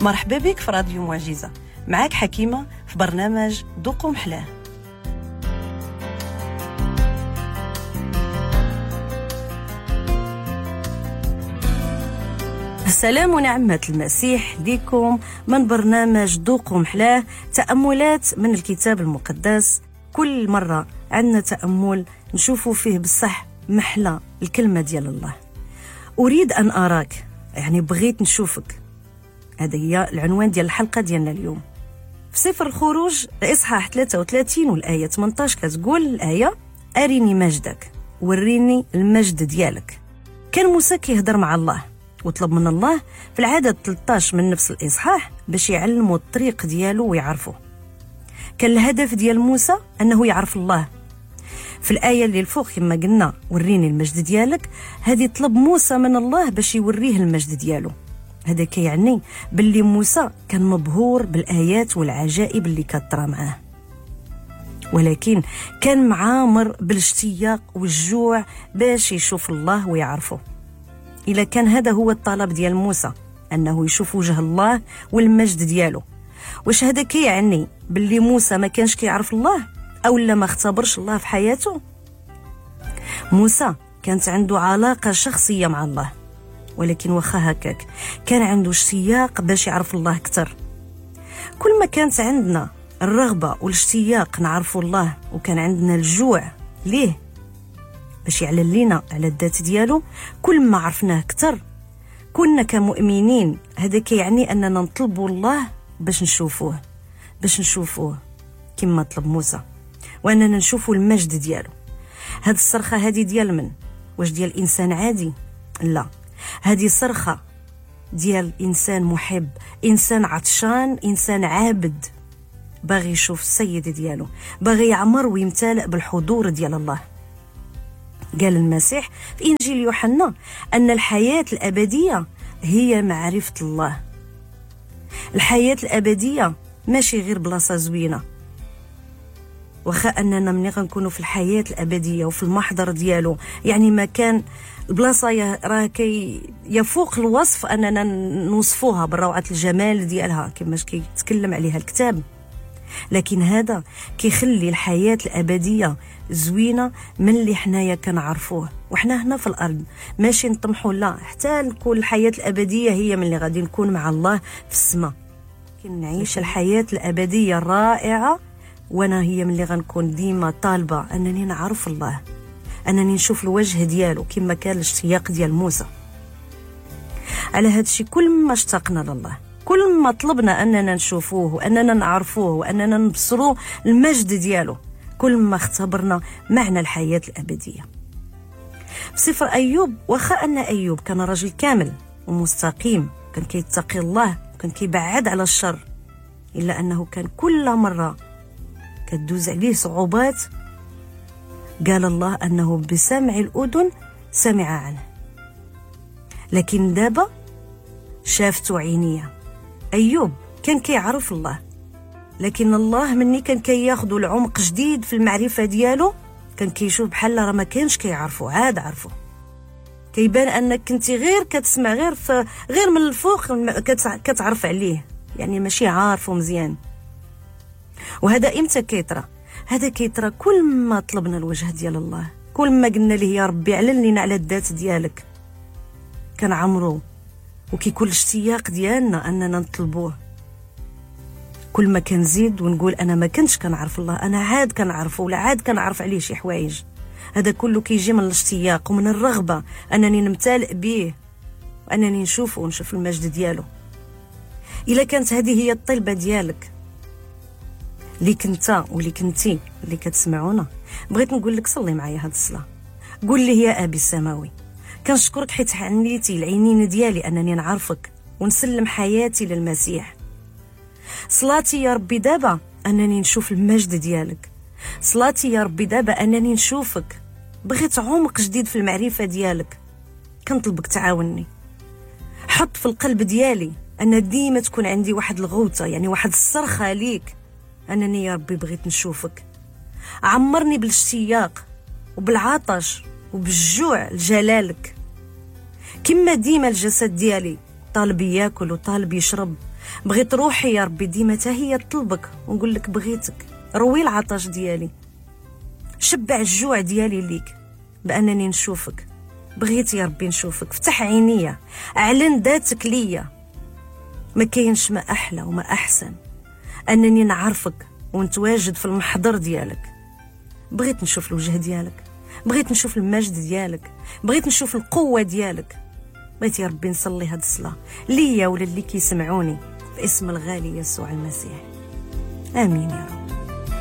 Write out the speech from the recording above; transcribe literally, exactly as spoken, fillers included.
مرحبا بك في راديو معجزة، معاك حكيمة في برنامج ذوقوا محلاه. السلام ونعمة المسيح ليكم من برنامج ذوقوا محلاه، تأملات من الكتاب المقدس. كل مرة عندنا تأمل نشوفوا فيه بصح محلى الكلمة ديال الله. أريد أن أراك، يعني بغيت نشوفك. هذا هي العنوان ديال الحلقة ديالنا اليوم. في سفر الخروج إصحاح ثلاثة وثلاثين والآية ثمانية عشر كتقول الآية: أريني مجدك، وريني المجد ديالك. كان موسى كيهضر مع الله وطلب من الله في العدد ثلاثة عشر من نفس الإصحاح باش يعلمه الطريق ديالو ويعرفه. كان الهدف ديال موسى أنه يعرف الله. في الآية اللي الفوق كما قلنا وريني المجد ديالك، هذه طلب موسى من الله باش يوريه المجد ديالو. هذا كيعني باللي موسى كان مبهور بالآيات والعجائب اللي كطرا معاه، ولكن كان معامر بالاشتياق والجوع باش يشوف الله ويعرفه. إلا كان هذا هو الطلب ديال موسى، أنه يشوف وجه الله والمجد ديالو، واش هذا كيعني باللي موسى ما كانش كيعرف الله أو لا ما اختبرش الله في حياته؟ موسى كانت عنده علاقة شخصية مع الله، ولكن واخا هكاك كان عنده اشتياق باش يعرف الله أكثر. كل ما كانت عندنا الرغبة والاشتياق نعرف الله، وكان عندنا الجوع ليه باش يعلن لنا على الذات ديالو، كل ما عرفناه أكثر كنا كمؤمنين. هذا كيعني أننا نطلبوا الله باش نشوفوه، باش نشوفوه كما طلب موسى، وأننا نشوفوا المجد ديالو. هاد الصرخة هذه ديال من؟ واش ديال إنسان عادي؟ لا، هذه صرخة ديال إنسان محب، إنسان عطشان، إنسان عابد، باغي يشوف السيد ديالو، باغي يعمر ويمتلئ بالحضور ديال الله. قال المسيح في إنجيل يوحنا أن الحياة الأبدية هي معرفة الله. الحياة الأبدية ماشي غير بلاصة زوينة، واخا أننا ملي غنكونوا في الحياة الأبدية وفي المحضر ديالو، يعني مكان البلاصة راه كي يفوق الوصف أننا نوصفوها بالروعة الجمال ديالها كما كيتكلم عليها الكتاب، لكن هذا كيخلي الحياة الأبدية زوينة من اللي حنايا كنعرفوه وحنا هنا في الأرض. ماشي نطمحوا، لا، حتى نكون الحياة الأبدية هي من اللي غادي نكون مع الله في السماء، نعيش الحياة الأبدية الرائعة. وانا هي من اللي غنكون ديما طالبة أنني نعرف الله، أنني نشوف الوجه ديالو كما كان الاشتياق ديال موسى. على هذا الشيء كل ما اشتقنا لله، كل ما طلبنا أننا نشوفوه وأننا نعرفوه وأننا نبصروه المجد ديالو، كل ما اختبرنا معنى الحياة الأبدية. في سفر أيوب، واخا أن أيوب كان رجل كامل ومستقيم، كان كيتقي الله، كان كيبعد على الشر، إلا أنه كان كل مرة كتدوز عليه صعوبات قال الله أنه بسمع الأذن سمع عنه، لكن دابا شافته عينيه. أيوب كان كيعرف الله، لكن الله مني كان كياخذ العمق جديد في المعرفة ديالو، كان كيشوف بحال راه ما كانش كيعرفو، عاد عرفو. كيبان أنك كنتي غير كتسمع غير في غير من الفوق كتعرف عليه، يعني ماشي عارفو مزيان. وهذا امتى كيطرى؟ هذا كيطرى كل ما طلبنا الوجه ديال الله، كل ما قلنا ليه يا ربي علن لنا على الذات ديالك، كنعمرو وكيكون الاشتياق ديالنا اننا نطلبوه. كل ما كنزيد ونقول انا ما كنتش كنعرف الله، انا عاد كنعرفه ولا عاد كنعرف عليه شي حوايج، هذا كله كيجي من الاشتياق ومن الرغبه انني نمتلئ به وانني نشوفه ونشوف المجد ديالو. الا كانت هذه هي الطلبه ديالك، اللي كنت واللي كنتي اللي كتسمعونا، بغيت نقول لك صلي معايا هاد الصلاه. قول لي يا ابي السماوي، كنشكرك حيت حنيتي العينين ديالي انني نعرفك ونسلم حياتي للمسيح. صلاتي يا ربي دابا انني نشوف المجد ديالك، صلاتي يا ربي دابا انني نشوفك، بغيت عمق جديد في المعرفه ديالك، كنطلبك تعاوني. حط في القلب ديالي ان ديما تكون عندي واحد الغوته، يعني واحد الصرخه ليك، انني يا ربي بغيت نشوفك. عمرني بالاشتياق وبالعطش وبالجوع لجلالك. كما ديما الجسد ديالي طالب ياكل وطالب يشرب، بغيت روحي يا ربي ديما تا هي تطلبك ونقول لك بغيتك. روي العطش ديالي، شبع الجوع ديالي ليك بأنني نشوفك. بغيت يا ربي نشوفك، فتح عينيا، اعلن ذاتك ليا. ما كاينش ما أحلى وما أحسن أنني نعرفك ونتواجد في المحضر ديالك. بغيت نشوف الوجه ديالك، بغيت نشوف المجد ديالك، بغيت نشوف القوة ديالك. بغيت يا ربي نصلي هاد الصلاة ليا ولا اللي كيسمعوني في اسم الغالي يسوع المسيح. آمين يا رب.